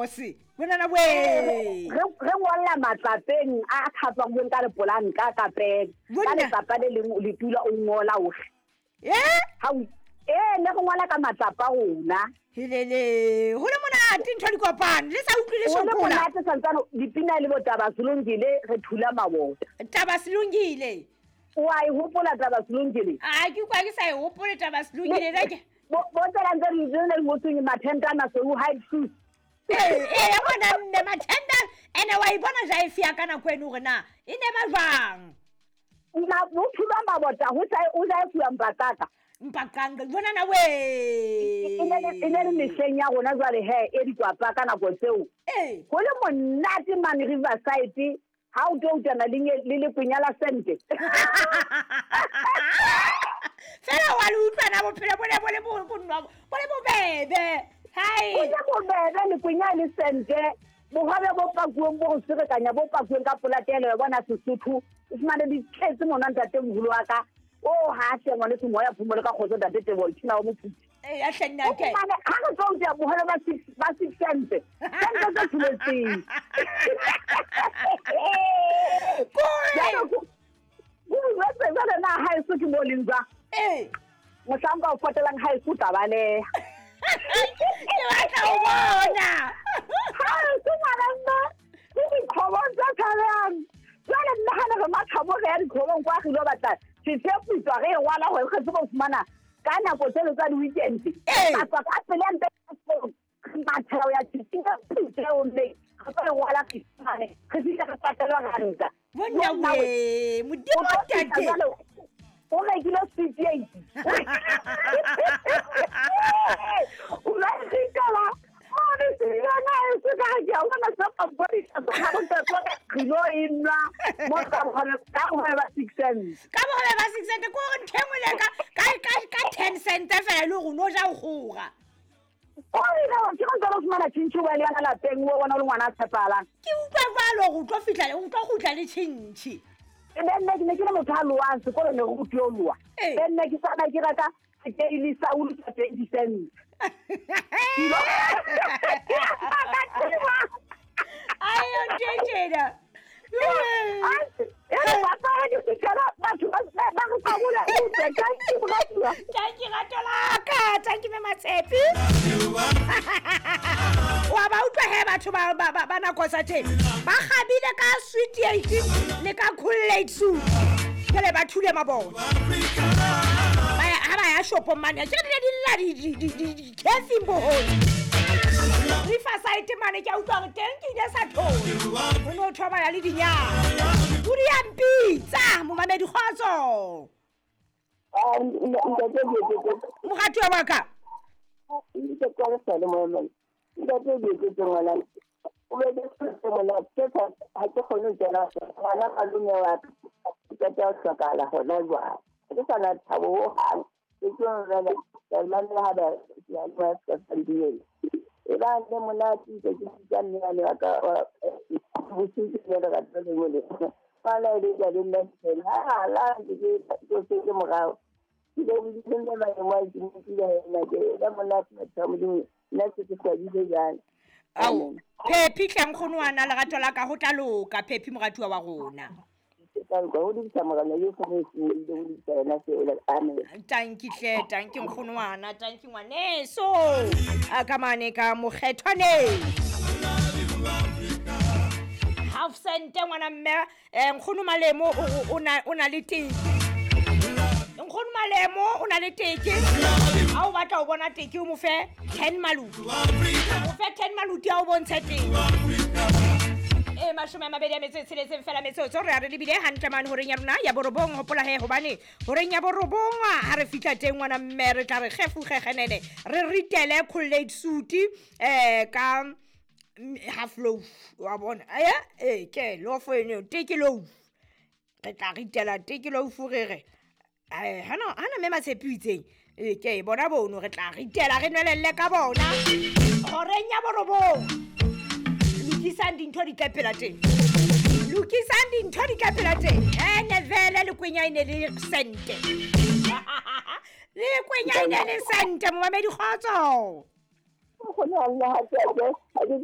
mose bonana we re ngolla matlapeng a tlhatswang ka lepolanka ka pele ka letlapa le leng le tula o ngola ohle ne go ngola ka matlapa rona helele ho le monate ntho di kopano le sa utlwile sokola ho le monate santsane dipina le botaba Silungile re thula mabota taba Silungile wa e hopola taba Silungile a ke kwa ke sa e hopole taba Silungile le ke bo tsela ntse re le ngotseng mathentana so u hide shoes ya bona mme mathenda ene wa ibona jaifi ya kana kwenu hore na e ne ba jwang na bo thula mabota ho sa o ja fuwa mpataka mpakanga bona na we e ne le mehleng ya rona jwale he e dikwapa ka nako tseo ho le monate mane Riverside ha o tlo utana le lekwenya la sente fela wa le utlwana bophelo bo ne bo le bo le bobebe hai o le bobebe lekwenya le sente bohwabe bo pakuweng bo go serekanya bo pakuweng ka polatelo ya bona Sesotho o fumane di tletse mona ntate moholo wa ka o ha hle ngwane se moya phomolo ka kgotso ntate Teboho Thina wa mophuti ya hle nna ke ha re tlo utlwa bohole ba 6 cents cents tse tsheletseng jwale na haeso ke mo leng jwang mohlanka o potelang haeso o tla baleha ke batla ho bona haeso ngwana nna ke dikgobong tse tshabehang jwale nna ha ne re mathabo re ya dikgobong kwa re ilo batla setheputswa re e ngwala hore re tsebe ho fumana ka nako tseno tsa di-weekend ka tswa ka pele ya mpe mathela ho ya tseo mme re tlo e ngwala re fumane re fihle re patelwa ranta monna we modimo tate o rekile sweet eight o la ritela mone seyona e se ka ke a bona sa pampori re lo e nwa mo ka bohole ba 6 cents ka bohole ba 6 cents ko re ntho e nngwe le ka 10 cents fela le gore no ja o kgora o ile wa ke go fumana tšhintšhi wa le yana lapeng o bona o le ngwana a tshepalang ke utlwa jwalo gore o tlo fihla o tlo kgutla le tšhintšhi be nna ke ne ke le motho a loang sekolo ne go rutiwe ho loa be nna ke sana ke reka sekeili sa ulu sa 20 cents ayo ntjena Tanki ratolaka tanki me Matshepi wa ba utlwa he batho ba nako tsa teng ba kgabile ka sweet eight le ka cool eight soup jale ba thule mabone ha ba ya shopong mane ke di lla di-cafe bohole Riverside mane ke a utlwa hore teng ke ile sa thole ho no thobala le dinyana o di a mpitsa momamedi kgotso moratuwa wa ka Ao Phephi hle nkgono wa na lerato la ka ho tla loka Phephi moratuwa wa rona tanki hle tanki nkgono wana tanki ngwaneso a ka mane ka mokgethwane half cent ngwana mme nkgono Malemo o na le teke nkgono Malemo o na le teke ha o batla ho bona teke o mo fe 10 maluti o fe 10 maluti a o bontshe teke 26 fela metsotso re a re lebile hantle mane horeng ya rona ya borobong hopola he hobane horeng ya borobong ha re fihla teng ngwana mme re tla re kgefugegenene re ritele collate suit ka half loaf wa bona ke loaf eno teke loaf re tla ritela teke loaf re re hana mme Matshepi o itseng ke bona bono re tla ritela re nwelelle ka bona horeng ya borobong lokisang dintho di tla phela teng lokisang dintho di tla phela teng ene vele le kwenya ene le sente le kwenya ene le sente momamedi kgotso go ne Allah ha ke